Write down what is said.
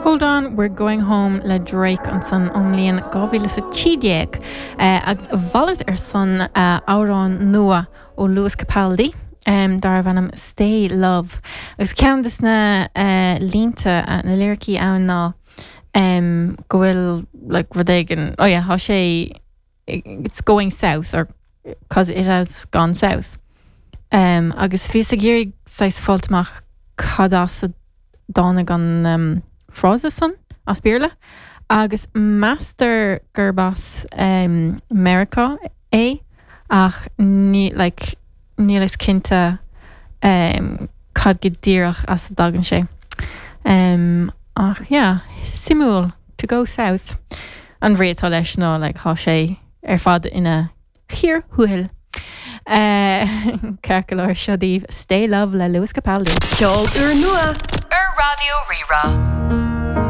Hold On, We're Going Home le Drake ansan ón mbliain 2013 agus a mhalairt ar san amhrán nua ó Lewis Capaldi darbh ainm Stay Love agus ceann de na línte, na liricí ann ná go bhfuil like rud éigin, oh yeah, tá sé it's going south or cause it has gone south. Um, agus bhíos ag iarraidh saghas fáilt amach cad as a dtáinig an um, frása san as Béarla, agus meastar gurb as um, Meiriceá é ach ní, like, níl fhios cinnte um, cad go díreach as a dtagann sé. Um, ach yeah, suimiúil to go south. An bhrí atá leis ná like, tá sé ar fad ina chíor thuathail. Ceart go leor seo daoibh Stay Love le Lewis Capaldi. Ceol úrnua ar Raidió Rí-Rá.